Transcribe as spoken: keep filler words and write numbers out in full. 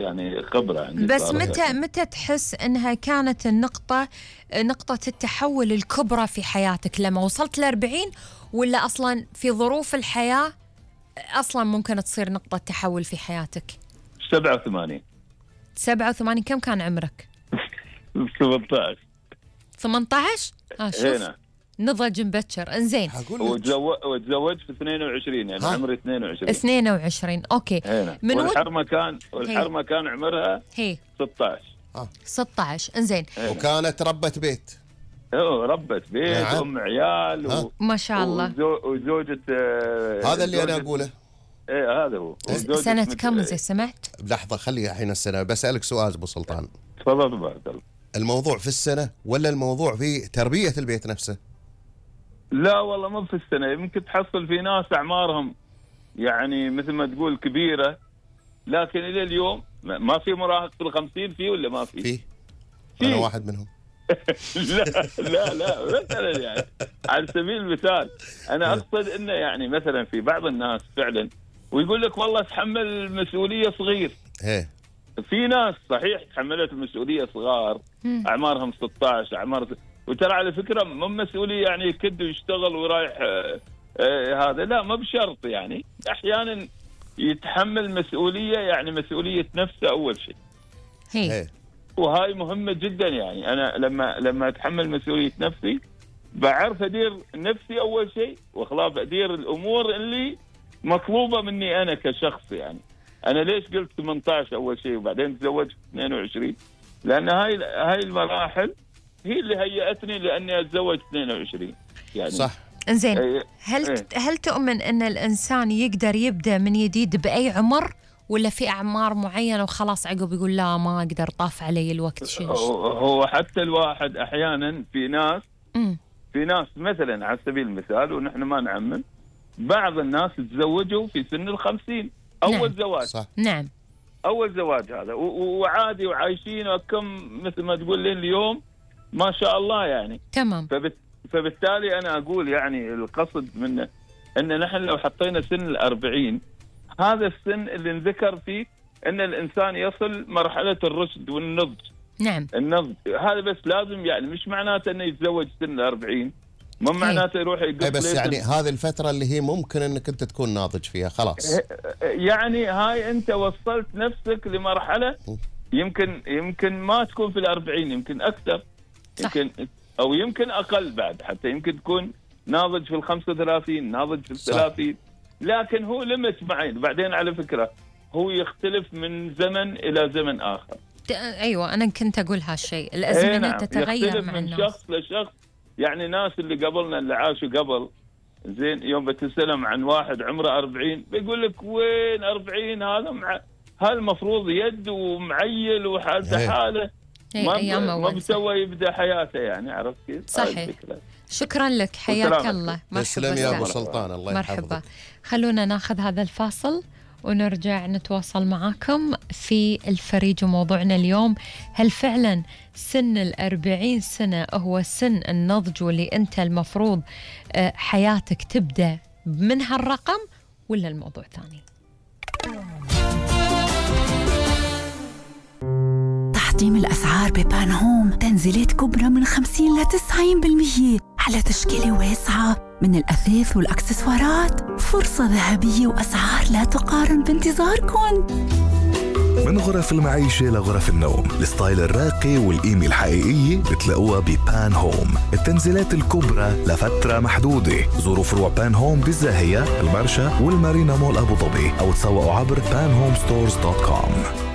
يعني خبرة عندي. بس متى يعني. متى تحس أنها كانت النقطة نقطة التحول الكبرى في حياتك؟ لما وصلت لأربعين ولا أصلا في ظروف الحياة أصلا ممكن تصير نقطة تحول في حياتك؟ سبعة وثمانين. سبعة وثمانين كم كان عمرك؟ ثمانية عشر. ثمانية عشر؟ ها شوف هنا. نضج مبكر. انزين. وتزوجت في اثنين وعشرين يعني عمري اثنين وعشرين. اثنين وعشرين اوكي. هنا. من والحرمة كان والحرمة كان عمرها هي ستة عشر. اه ستة عشر. انزين. وكانت ربة بيت. اوه ربة بيت. نعم. ام عيال و... ما شاء الله. وزوجة آه هذا اللي انا اقوله. ايه هذا هو. سنة كم زي سمعت؟ لحظة خلي الحين السنة. بسألك سؤال ابو سلطان. تفضل تفضل. الموضوع في السنة ولا الموضوع في تربية البيت نفسه؟ لا والله مو في السنة. يمكن تحصل في ناس أعمارهم يعني مثل ما تقول كبيرة، لكن إلى اليوم ما في مراهق في الخمسين فيه ولا ما في؟ فيه. أنا واحد منهم. لا لا لا مثلا يعني على سبيل المثال أنا أقصد إنه يعني مثلا في بعض الناس فعلا ويقول لك والله تحمل المسؤولية صغير. إيه. في ناس صحيح تحملت المسؤولية صغار أعمارهم ستة عشر أعمار، وترى على فكرة مو مسؤولية يعني يكد ويشتغل ورايح آه آه هذا، لا ما بشرط يعني أحيانا يتحمل مسؤولية يعني مسؤولية نفسه أول شيء. هي. وهاي مهمة جدا يعني أنا لما لما أتحمل مسؤولية نفسي بعرف أدير نفسي أول شيء وخلاص أدير الأمور اللي مطلوبة مني أنا كشخص. يعني أنا ليش قلت ثمانية عشر أول شيء وبعدين تزوجت اثنين وعشرين؟ لأن هاي هاي المراحل هي اللي هيأتني لأني أتزوج اثنين وعشرين يعني. صح. إنزين. هل ايه. هل تؤمن أن الإنسان يقدر يبدأ من جديد بأي عمر ولا في أعمار معينة وخلاص عقب يقول لا ما أقدر طاف علي الوقت؟ شيء هو حتى الواحد أحيانا في ناس م. في ناس مثلا على سبيل المثال ونحن ما نعمم، بعض الناس تزوجوا في سن الخمسين أول نعم. زواج. صح. نعم. أول زواج هذا وعادي وعايشين وكم مثل ما تقول لين اليوم ما شاء الله يعني. تمام. فبت... فبالتالي أنا أقول يعني القصد منه أن نحن لو حطينا سن الأربعين هذا السن اللي نذكر فيه أن الإنسان يصل مرحلة الرشد والنضج. نعم. النضج هذا بس لازم يعني مش معناته أنه يتزوج سن الأربعين، مو معناته يروح يقف. بس يعني هذه الفترة اللي هي ممكن أنك أنت تكون ناضج فيها خلاص. يعني هاي أنت وصلت نفسك لمرحلة يمكن يمكن ما تكون في الأربعين، يمكن أكثر. صح. يمكن أو يمكن أقل بعد، حتى يمكن تكون ناضج في الخمسة وثلاثين، ناضج في الثلاثين. لكن هو لمت معين. بعدين على فكرة هو يختلف من زمن إلى زمن آخر. أيوة أنا كنت أقول هالشيء، الأزمنة نعم. تتغير مع من الناس. شخص لشخص. يعني ناس اللي قبلنا اللي عاشوا قبل زين يوم بتسلم عن واحد عمره أربعين بيقول لك وين أربعين هذا مع هالمفروض يد ومعيل وحالته حاله ما ما بسوى يبدا حياته يعني. عرفت كيف؟ صحيح. شكرا لك حياك الله. مرحبا يا ابو سلطان. الله يحفظك. مرحبا. خلونا ناخذ هذا الفاصل ونرجع نتواصل معاكم في الفريج. وموضوعنا اليوم هل فعلا سن الأربعين سنة هو سن النضج واللي أنت المفروض حياتك تبدأ من هالرقم ولا الموضوع ثاني؟ تحطيم الأسعار ببان هوم، تنزيلات كبرى من خمسين إلى تسعين بالمئة على تشكيلة واسعة من الأثاث والأكسسوارات. فرصة ذهبية وأسعار لا تقارن بانتظاركم. من غرف المعيشة لغرف النوم، الستايل الراقي والقيمة الحقيقية بتلاقوها ببان هوم. التنزيلات الكبرى لفترة محدودة. زوروا فروع بان هوم بالزاهية، المرشا والمارينا مول أبو ظبي أو تسوقوا عبر بان هوم ستورز دوت كوم.